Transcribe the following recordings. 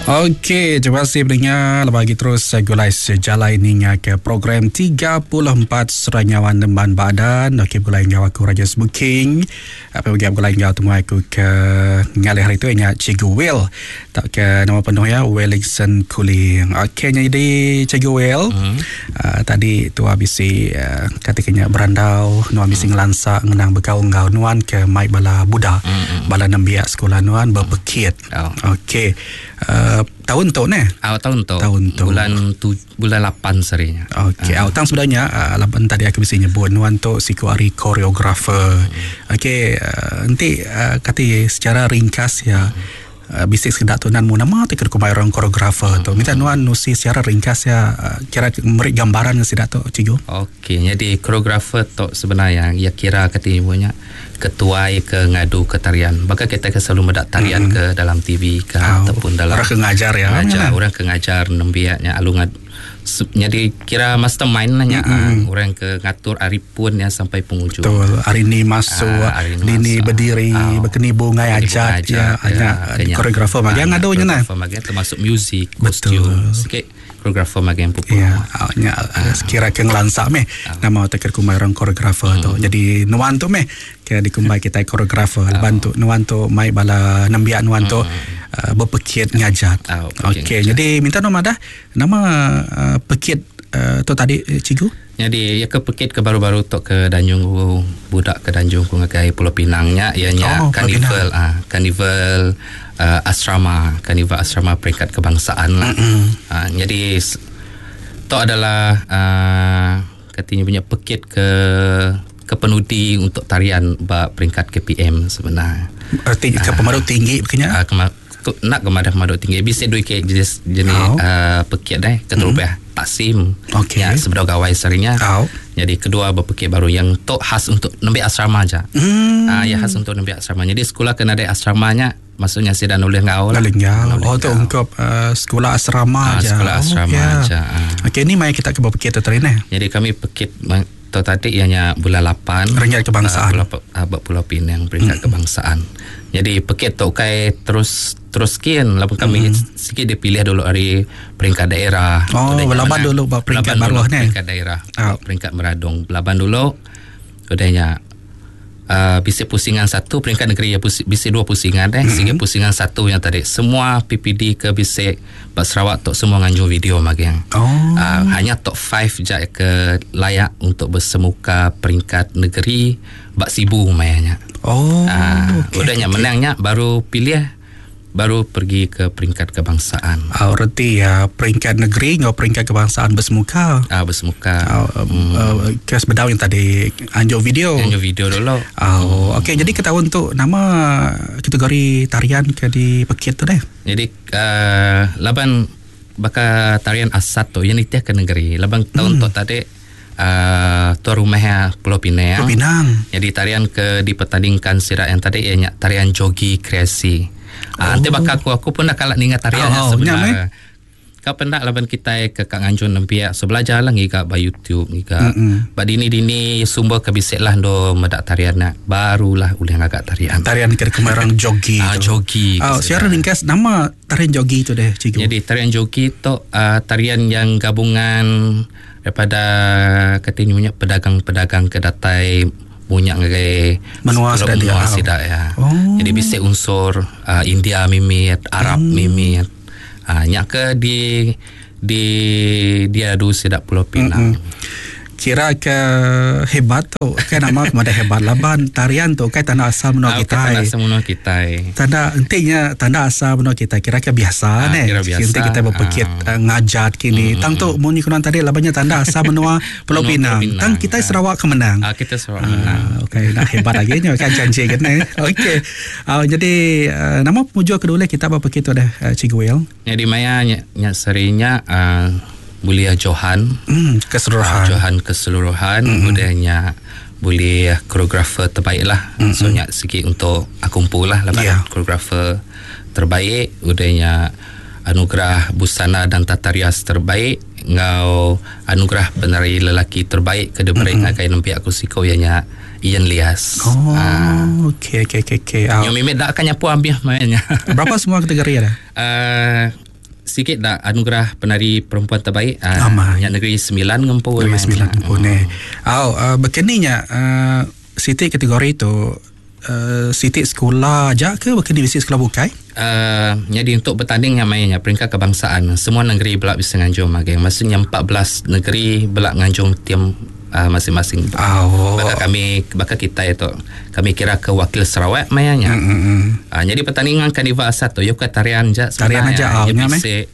Okey, terima kasih pendengar. Lepas lagi terus gulai sejalai ninga ke program 34 Seranyawan Nemban Badan. Okey, gulai enggau aku Raja Smoking. Apa bagi gulai enggau temuai aku ke ngalih hari tu ianya Cikgu Will. Tak ke nama penuh ya Wellington Kuling. Okey, jadi Cikgu Will. Mm. Uh, tadi tua bisi uh, katikanya berandau, nuan bisi mm. ngelansa ngenang bekau enggau nuan ke mai bala budak, mm. bala nembiak sekolah nuan berpekit. Oh. Okey. Uh, tahun tu ne? Oh, tahun tu. Tahun tu. Bulan tu bulan 8 serinya. Okey. Uh. Oh, tang sebenarnya uh, laban tadi aku bisi nyebut nuan tu siku ari koreografer. Hmm. Okey, uh, enti uh, kati secara ringkas ya. Hmm. Uh, bisi sekeda tu nan mu nama ti ke kumbai orang koreografer tu. Minta nuan nusi secara ringkas ya uh, kira meri gambaran ke sida tu cikgu. Okey, jadi koreografer tu sebenarnya ya kira kati ibunya ketuai ke ngadu ke tarian. Baka kita ke selalu medak tarian mm-hmm. ke dalam TV ke oh, ataupun dalam orang ke ngajar ya. Ngajar, orang ke ngajar nembiaknya alu ngad jadi kira mastermind lah nya mm-hmm. orang ke ngatur ari pun ya sampai penghujung. Betul. Hari ni masuk, ah, hari ni masuk. berdiri, oh. berkeni bungai ajat, ya, ya, ya koreografer bagian ngadu nya nah. Bagian termasuk muzik, kostum, sikit koreografer magang pupu. Ya, nya kira ke ngelansa meh nama te kumbai orang koreografer tu. Jadi nuan tu meh ke dikumbai kita koreografer. Lepas tu nuan tu mai bala nembiak nuan tu uh, berpekit ngajat. Okey, jadi minta nama dah nama uh, pekit uh, tu tadi cikgu. Jadi ya ke pekit ke baru-baru tu ke Danjung budak ke Danjung ku ngagai Pulau Pinang nya ianya oh, karnival ah karnival uh, asrama, karnival asrama peringkat kebangsaan lah. Mm-hmm. Uh, jadi tu adalah uh, katanya punya pekit ke ke penudi untuk tarian ba peringkat KPM sebenarnya. Erti ke pemaduk tinggi bekenya? Uh, nak ke madah pemaduk tinggi bisa dua ke jenis jenis oh. uh, pekit deh keterubah mm. taksim. Okey. Ya, sebedau gawai serinya. Oh. Jadi kedua berpekit baru yang tok khas untuk nembiak asrama aja. Mm. Uh, ya khas untuk nembiak asrama. Jadi sekolah kena ada asramanya maksudnya sida nulih ngau lah. Nulih ngau. Oh tu ungkup uh, sekolah asrama aja. Sekolah asrama oh, yeah. aja. Uh. Okey ni mai kita ke berpekit tu ni. Jadi kami pekit tu tadi ianya bulan 8 peringkat kebangsaan. Uh, Pulau Pinang peringkat mm. kebangsaan. Jadi pekit tu kai terus terus kian lapan kami mm. sikit dipilih dulu hari peringkat daerah. Oh, laban dulu bab peringkat baruh ni. Peringkat daerah. Oh. Peringkat Meradong. Laban dulu udahnya uh, bisi pusingan satu peringkat negeri ya bisi dua pusingan deh. Mm-hmm. Sehingga pusingan satu yang tadi semua PPD ke bisi Pak Sarawak tok semua nganjur video magang. Oh. Uh, hanya top 5 je ke layak untuk bersemuka peringkat negeri bak Sibu mayanya. Oh. Uh, okay, udahnya okay. menangnya baru pilih baru pergi ke peringkat kebangsaan. Oh, reti ya peringkat negeri ngau peringkat kebangsaan bersemuka. Ah bersemuka. Oh, hmm. uh, ke sebedau yang tadi anjur video. Anjur video dulu. Oh, okey jadi ketahuan tu nama kategori tarian ke di pekit tu deh. Jadi uh, laban baka tarian asat tu yang nitih ke negeri. Laban tahun tu tadi uh, tuan rumah Pulau Pinang. Pulau Pinang. Jadi tarian ke dipertandingkan sirak yang tadi ianya tarian jogi kreasi. Ah, nanti bakal aku pun nak kalak ningat tarian oh, sebenarnya. Kau pendak laban kita ke Kak Nganjun nempiak so belajar lah ngiga ba YouTube ngiga. Ba dini-dini sumber kebisik lah do medak tarian nak barulah ulih ngagak tarian. Tarian ke kemarang jogi. Ah jogi. Oh, siapa ringkas nama tarian jogi tu deh cikgu. Jadi tarian jogi tu uh, tarian yang gabungan daripada katanya punya pedagang-pedagang ke datai munyak ngagai menua menua sida ya. Oh. Jadi bisa unsur uh, India mimit, Arab mimit. Ah uh, nyak ke di di dia adu sida Pulau Pinang. Mm-mm. Kira ke hebat tu kan nama kepada hebat laban tarian tu kan tanda asal menua kita. Tanda asal menua kita. Tanda entinya tanda asal menua kita kira ke biasa ne. Enti kita berpekit uh, ngajat kini. Tang tu munyi kunan tadi labannya tanda asal menua Pulau Pinang. Tang kita Sarawak kemenang. Ah kita Sarawak menang. Okey nak hebat lagi nya kan janji kan ne. Okey. Jadi uh, nama pemujuk kedua kita berpekit tu dah uh, Cikgu Will. Jadi maya nya, nya serinya uh, boleh Johan keseluruhan. Johan keseluruhan budayanya boleh koreografer terbaik lah. So nyak sikit untuk aku kumpul lah lepas Yeah. koreografer terbaik udahnya anugerah busana dan tata rias terbaik ngau anugerah penari lelaki terbaik ke diberi ngagai nembiak aku siko ianya Ian Lias. Oh, Ah. okey okey okey okey. Yang mimit dak akan nyapu ambil mainnya. Berapa semua kategori ada? Uh, sikit dah anugerah penari perempuan terbaik uh, nya negeri 9 ngempu negeri 9 ngempu ne. Au uh, bekeni nya uh, siti kategori tu uh, siti sekolah aja ke bekeni bisi sekolah bukai? Uh, jadi untuk bertanding yang mainnya peringkat kebangsaan semua negeri belak bisa nganjung magang maksudnya 14 negeri belak nganjung tim uh, masing-masing. Oh. Baka kami baka kita itu kami kira ke wakil Sarawak mayanya. Mm-hmm. Jadi pertandingan Karnival Asat tu yo ke tarian je tarian aja oh, ya bisa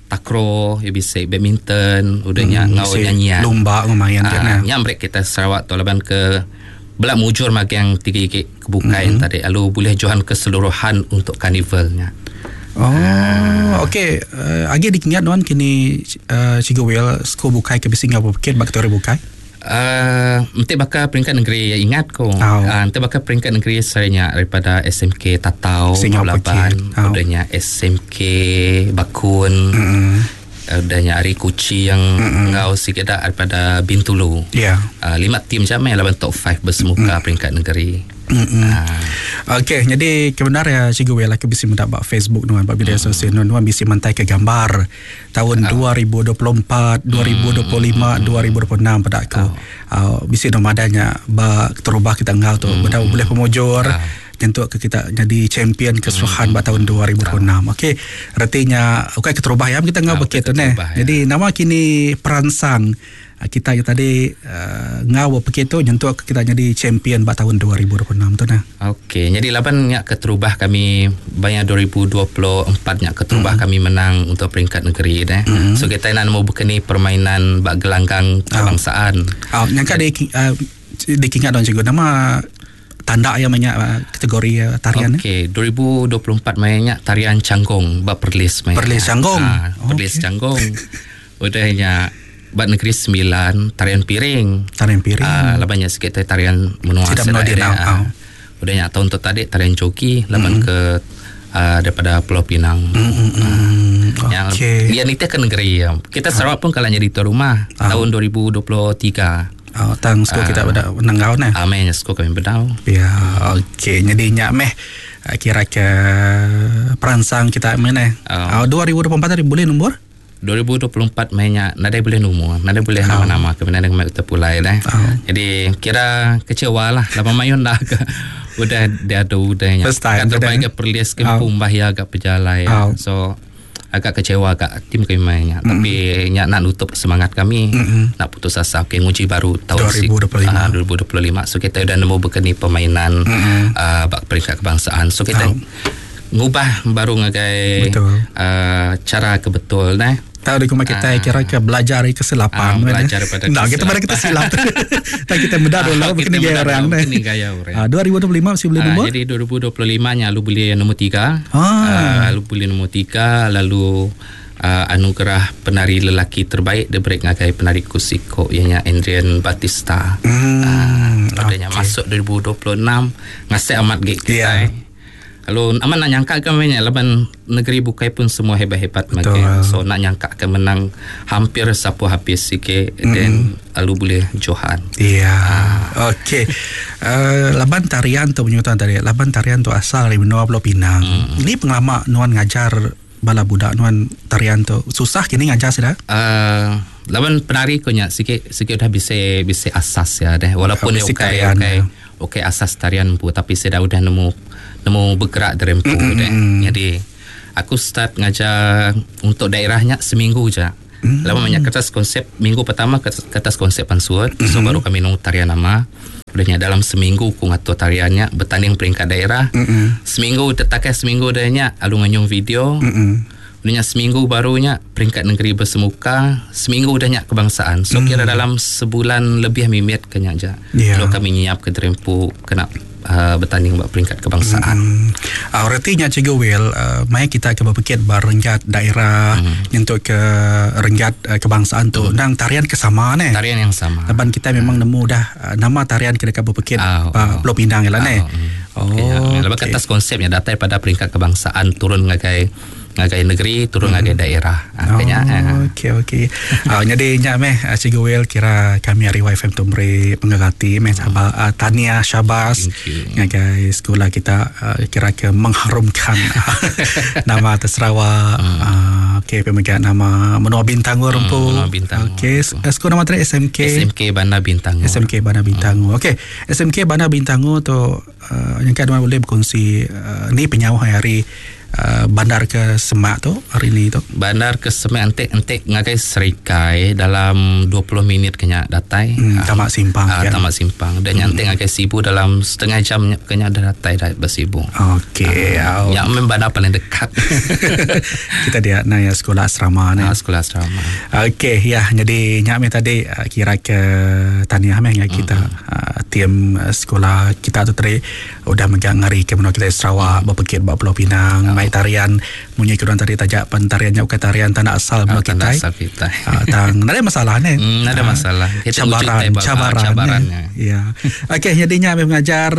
takraw, ya bisa badminton, udahnya ngau nyanyian. Lumba lumayan uh, kan. Nya mereka kita Sarawak tu laban ke belak mujur magang tiga ikik kebukai mm-hmm. tadi lalu boleh johan keseluruhan untuk karnivalnya. Oh, okey. Agi dikingat nuan kini Cikgu Will school bukai ke bisi ngau bukit bak kategori bukai? Mesti bakal peringkat negeri ya ingat ko. Oh. Mesti bakal peringkat negeri saya daripada SMK Tatau, Laban, Oh. udahnya SMK Bakun. Mm-hmm. Udahnya Ari Kuci yang ngau sikit dah daripada Bintulu. Ya. Yeah. 5 tim je main lawan top 5 bersemuka peringkat negeri. Okey, jadi kebenar ya Cikgu Will aku bisi mendak bak Facebook nuan bak media sosial nuan nuan bisi mentai ke gambar tahun 2024, 2025, 2026 pada aku. Bisi nomadanya bak terubah kita ngau tu benda boleh pemujur. Nyentuk ke kita jadi champion keseluruhan mm. tahun 2026. Okey, artinya okey keterubah ya kita ngau bekit tu neh. Jadi nama kini peransang kita yang tadi ngau bekit tu nyentuk ke kita jadi champion bak tahun 2026 tu nah. Okey, jadi laban nyak keterubah kami banyak 2024 nyak keterubah kami menang untuk peringkat negeri deh. So kita nak nemu bekeni permainan bak gelanggang kebangsaan. Oh, nyangka di dikingat don cikgu nama tanda yang banyak kategori tarian. Okey, 2024 mainnya tarian Canggung bab Perlis mainnya. Perlis Canggung. Perlis okay. Canggung. Udahnya bab Negeri 9 tarian piring. Tarian piring. Labannya sikit tarian menua Tidak menua dia. Udahnya tahun tu tadi tarian joki laban ke daripada Pulau Pinang. Yang okay. Yang itu ke negeri. Kita Sarawak pun kalau jadi tuan rumah tahun 2023. Oh, tang skor kita pada menang nah. Amin, skor kami bedau. Ya, okey. Jadi nyak meh kira ke peransang kita mana? 2024 tadi boleh nombor? 2024 mainnya nadai boleh nombor, nadai boleh nama-nama ke mana dengan kita pulai dah. Jadi kira kecewa lah, lama mayun dah ke udah dia ada udahnya. First time terbaik ke Perlis ke Pumbah ya agak pejalai. So agak kecewa agak tim kami mainnya. Tapi nyak nak nutup semangat kami, nak putus asa. Okey, nguji baru tahun 2025. 2025. So kita dah nemu bekeni permainan bak peringkat kebangsaan. So kita ngubah baru ngagai cara kebetul nah. Tahu di rumah kita kira ke belajar dari kesilapan. Belajar daripada nah, kita pada kita silap. Tak kita muda dulu begini gaya orang. Begini gaya orang. 2025 masih boleh nombor? Jadi 2025 nya lu beli nombor 3. Lalu beli nombor 3 lalu anugerah penari lelaki terbaik diberi ngagai penari Kusiko ianya Adrian Batista. Adanya masuk 2026 ngasih amat gig kita. Yeah. Lalu aman nak nyangka ke mainnya laban negeri bukai pun semua hebat-hebat makin. So nak nyangka ke menang hampir sapu habis sikit then lalu boleh johan. Iya. Yeah. Okey. Laban tarian tu penyutan tadi. Laban tarian tu asal dari benua Pulau Pinang. Ini pengalaman nuan ngajar bala budak nuan tarian tu. Susah kini ngajar sudah? Laban penari ko nya sikit sikit dah bisa bisa asas ya deh. Walaupun okey okey okey asas tarian pun tapi saya dah udah nemu bergerak dari empu deh. Jadi aku start ngajar untuk daerahnya seminggu je. Lama banyak kertas konsep minggu pertama kertas konsep pansuat. So baru kami nung tarian nama. Udahnya dalam seminggu ku ngatur tariannya bertanding peringkat daerah. Seminggu tetakai seminggu dahnya alu nganyung video. Udahnya seminggu barunya peringkat negeri bersemuka, seminggu udahnya kebangsaan. So kira dalam sebulan lebih mimit kenya je. Yeah. Lalu kami nyiap ke Terempu kena bertanding buat peringkat kebangsaan. Artinya Cikgu Will, mai kita ke berpikir bar renggat daerah untuk ke renggat kebangsaan tu. Nang tarian kesama ne. Tarian yang sama. Laban kita memang nemu dah nama tarian kita dekat berpikir Pulau Pinang ialah ne. Oh. Okay. Lepas okay. Atas konsepnya datang pada peringkat kebangsaan turun ngagai negeri turun ngagai daerah. Okey okey. Jadi nyak meh Cikgu Will kira kami hari YFM tu beri pengagati meh Tania Syabas ngagai sekolah kita kira ke mengharumkan nama atas Sarawak. Okey, pemega nama menua Bintangor empu. Menua Bintangor. Okey, sekolah nama tadi SMK SMK Bandar Bintangor. SMK Bandar Bintangor. Okey, SMK Bandar Bintangor tu nyangka nuan boleh berkongsi ni penyauh hari bandar ke Semak tu hari ni tu. Bandar ke Semak entik-entik ngagai Serikai dalam 20 minit kenya datai. Tamak Simpang. Kan? Tamak Simpang. Dan nyantik ngagai Sibu dalam setengah jam kenya dah datai dah bersibu. Okey. Yang memang bandar paling dekat. Kita dia naya sekolah asrama ni. Sekolah asrama. Okey, ya jadi nyak me tadi kira ke tahniah meh kita tim sekolah kita tu tadi udah megang ngari ke menua kita Sarawak berpekit ba Pulau Pinang mai tarian munyi kurang tadi tajak pentariannya bukan tarian tanah asal menua kita. Asal kita. Tang ada masalah ni. Ada masalah. Cabaran. Ya. Okey, jadinya kami mengajar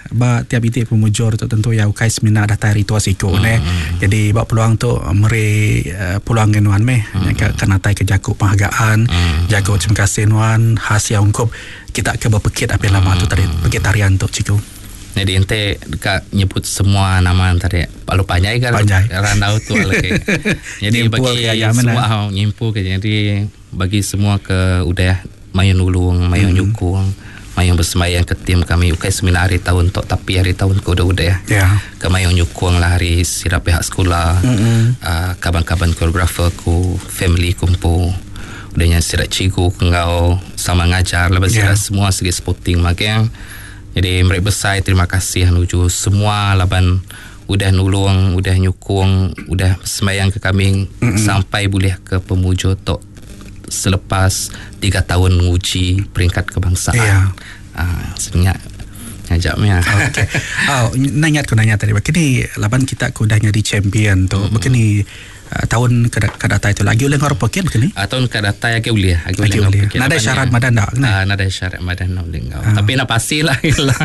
ba tiap itik pemujur tu tentu ya ukai semina datai ritual siku ne. Jadi ba peluang tu meri peluang nuan meh ke kena tai ke jaku penghargaan, jaku terima kasih nuan hasil ungkup kita ke berpekit apa lama tu tadi pekit tarian tu cikgu. Jadi ente dekat nyebut semua nama tadi palu panjai kan randau tu lagi. Jadi bagi semua nyimpul ke jadi bagi semua ke udah mayun nulung, mayun nyukung, mayun bersemayang ke tim kami ukai semina hari tahun tok tapi hari tahun ke udah-udah ya. Ke mayun nyukung lah hari sirap pihak sekolah, kaban-kaban koreografer ku, family kumpul. Udahnya sirap cikgu ngau sama ngajar lepas sirap semua segi sporting magang. Jadi mereka besar terima kasih menuju semua laban udah nulung, udah nyukung, udah sembahyang ke kami sampai boleh ke pemuju tok selepas 3 tahun menguji peringkat kebangsaan. Sebenarnya ngajaknya. Okey. Oh, nanya aku nanya tadi. Begini laban kita ku dah jadi champion tu. Begini tahun ke datai tu lagi oleh ngor pekit begini? Tahun ke datai lagi boleh, lagi boleh. Nada syarat madan dak kena. Nada syarat madan nak boleh ngau. Tapi nak pastilah lah.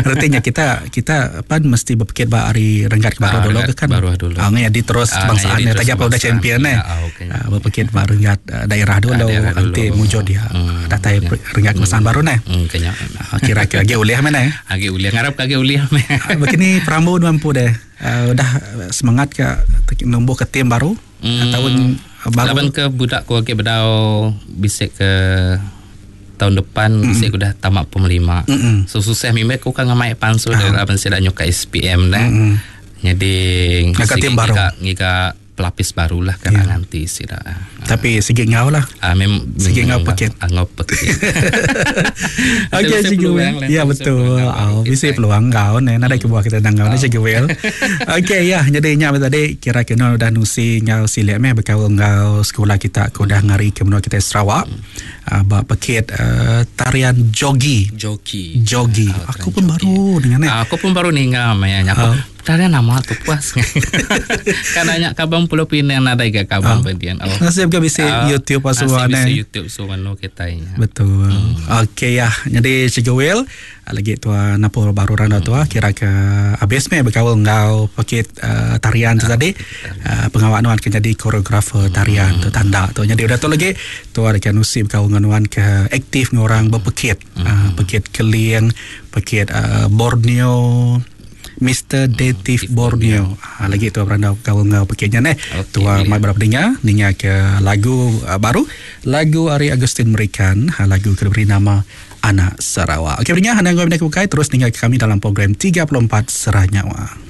Artinya kita pan mesti berpikir ba hari renggat ke baru dulu kan. Baru dulu. Jadi terus kebangsaan ni tajap udah champion ni. Berpikir ba renggat daerah dulu nanti mujur dia datai renggat kebangsaan baru ni. Kenya. Kira-kira lagi boleh mana? Lagi boleh ngarap lagi boleh. Begini perambu mampu deh. Udah semangat ke numbuh ke tim baru tahun baru. Laban ke budak ku agi bedau bisik ke tahun depan bisik udah tamat pom 5. So susah mimik ku kan ngamai pansu laban sida nyuka SPM dah. Jadi ngaka tim baru. Ngiga pelapis barulah kan nanti sida. Tapi segi ngau lah. Segi ngau pekit. Ngau pekit. Okey cikgu. Ya betul. Bisi peluang ngau ne nadai kebuah kita nang ngau ne cikgu Will. Okey ya jadi nya tadi kira-kira udah nusi ngau silik meh bekaul ngau sekolah kita ku udah ngari ke menua kita Sarawak. Ba pekit tarian jogi. Jogi. Aku pun baru dengan ne. Aku pun baru ninga maya aku. Tarian nama tu puas. Kan nanya kabang Pulau Pinang nadai ke kabang pedian. Nasib ke bisa YouTube semua ne. Bisa YouTube semua no kita. Betul. Okey ya. Jadi Cikgu Will lagi tua napur baru randa tua kira ke habis me berkaul ngau pekit tarian tu tadi. Pengawak nuan ke jadi koreografer tarian tu tanda tu. Jadi udah tu lagi tua dekat nusi berkaul nuan ke aktif ngorang berpekit. Pekit Keling, pekit Borneo, Mr. Dative Borneo. Lagi tu beranda kau ngau pekitnya ne. Tua mai berapa dengar ninga ke lagu baru, lagu Ari Agustin Merikan, lagu ke beri nama Anak Sarawak. Okey, dengar hanya ngau bukai terus ninga kami dalam program 34 Serah Nyawa.